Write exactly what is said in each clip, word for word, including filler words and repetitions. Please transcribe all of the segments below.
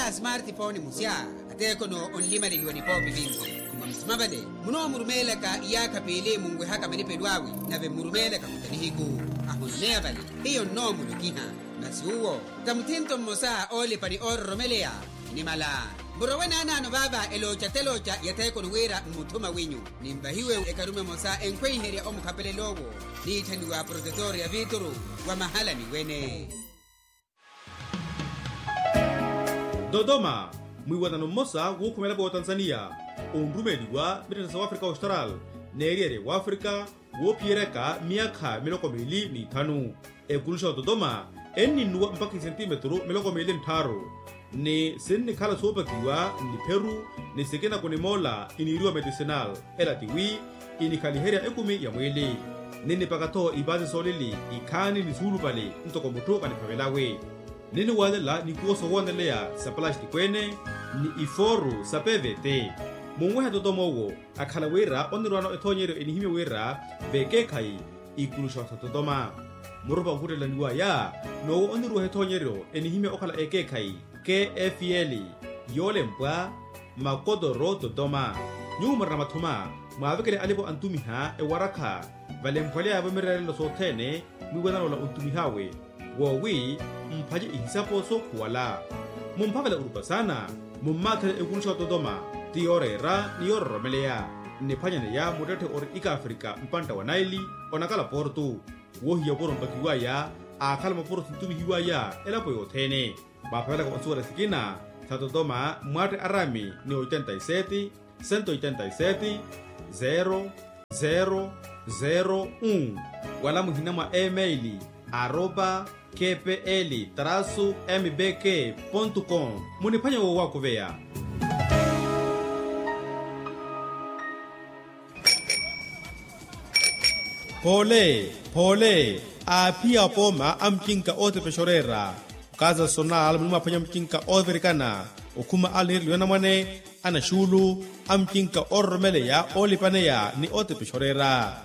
Smartphone musya, ateekono onlimaleliwa nipoopi vinci. Mwa musuma vale munoomurumeelaka iyaakha piili munwehaka malipelo awe, nave mmurumeelaka kuta nihiku ahunumeya vale. Hiyo nnoomulokiha. Masi uwo ta muthinto mmosa oolipa ni oororomeleya. Nimala murowe naanaano vaava elooca telooca yatheekoni wira mmuthuma wenyu. Ninvahiwe ekarume emosa enkhweiherya omukhapelel'owo. Niitthaniwa protetor ya vituru wa mahala niwene. Dodoma, mwiiwanano mmosa wuukhumela pootanzaniya onrumeeliwa mittettha sa wafrika austral, n'eriyerya wafrika woophiyeryaka myaakha miloko miili n'ithanu. Ekuluxa ototoma enninnuwa mpakha isentimetru miloko miili nttharu, ni sinnikhala soopakiwa nnipheru, ni sikina kunimoola iniiriwa medicinal. Ela tiwi inikhaliherya ekumi ya mwiili. Ninnipaka-tho ipaasi soolili ikhaani ni suulupali ntoko mutthu kaniphavelawe. Ninniwaalela nikuwo soowooneleya sa palastiko ene, ni ifooru sa pvt. Munwehe totoma owo akhala wira onirwaano ethoonyeryo enihimya wira vekeekhayi ikuluxa sa totoma. Murupa onkhuttelaniwaya n'owo oniruweha ethoonyeryo enihimya okhala ekeekhayi, kfl, yoolempwa makotoro totoma. Nyuwo murina mathuma mwaavekele alipo antumiha ewarakha valemphweleyavo mireerelo sothene. Mwiiwanano ola ontumih'awe woowi mphace ihisapo sookhuwala. Mumphavela orupa saana, mummaatherye ekuluxa ototoma ti yooreera ni yoororomeleya. Nniphwanyaneya muttetthe ori ikafrika mpantta wa naili onakala portu. Woohiya opuro mpakiwaya aakhala mapuro sintumihiwaya elapo yothene. Mwaaphavelaka onsuwela sikina sa totoma mwaatte arami ni oitenta y sete, sento oitenta y sete, zero zero zero un, wala muhina mwa email aropa kpl trasu mbk pontu com. Muniphwanye woowakuveya. Poole, poole, aaphiya apooma a mucinka ootepexa oreera. Okaza sonal munimwaphwanya mucinka oovirikana, okhuma alniireliwa anamwane, anaxuulu, amucinka oororomeleya, oolipaneya ni ootepexa oreera.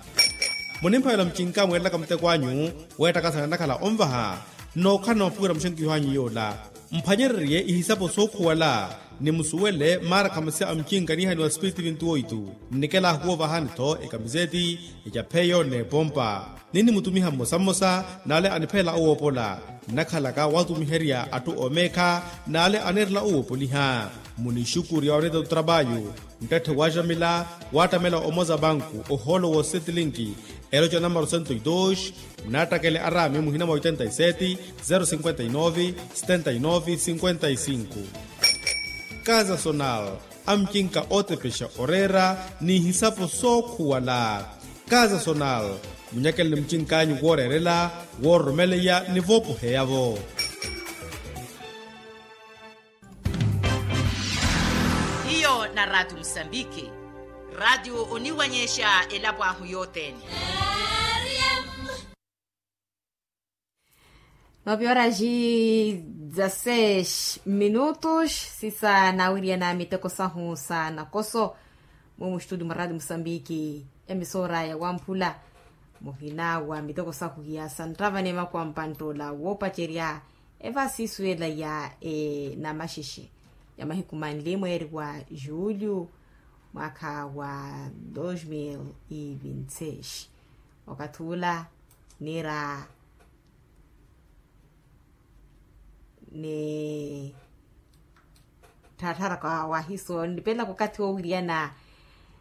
Munimphavela mucinka mweerelaka muteko anyu weettakasana nnakhala onvaha. Nnookhala na mapuwira muxenkiho anyu yoola. Mphwanyererye ihisapo sookhuwala, ni musuwele maarakha masya a mucinka niihaniwa sipiritu vintu oitu. Nnikela ahuwo vahani-tho ekamiseti, ecapheyo n'epompa. Ninnimutumiha mmosa mmosa n'ale aniphelela owoopola. Nnakhalaka waatumiherya atthu oomeekha n'ale aneerela owoopoliha. Munixukurya onetta otrapayu, muttetthe waaxamila waattamela omoza banku ohoolo wosetilinki. Eloca namaro sento y dos. Munaattakele arami muhina mwa oitenta y sete, zero cinquenta y nove, setenta y nove cinquenta y cinco. Kaza sonal, amucinka ootepexa oreera n'ihisapo sookhuwala. Kaza sonal, munyakeleni mucink'anyu wooreerela, woororomeleya ni voopoheya-vo. Hiyo na raatiyo musambiki. Raatiyo oniwanyexa elapo ahu yothene. Nove horas e dezasseis minutos. Sisa nawiriyana miteko sahu sa nakoso. Mumu studio mwa raatiyo musambiki, emisora ya wamphula. Muhina wa miteko sahu ya santtava ni emaku a mpanttoola woopacerya evasi isuwela ya enamaxexe ya mahiku manli mweeri wa julho, mwaakha wa dos mil e vinte seis. Okathi ula niira ni tthaattharaka wahiso nipelaka okathi woowiriyana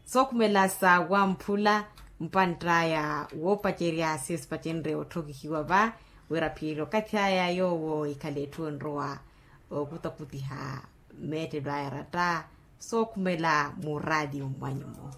sookhumela sa wamphula. Mpantt'aya woopacerya sisipacenrye otthokihiwa va wira phiiri okathi aya yoowo ikhale etthu enrowa okutakutiha meettelo aya ratta sookhumela mu raatiyo mmwanyu-mo.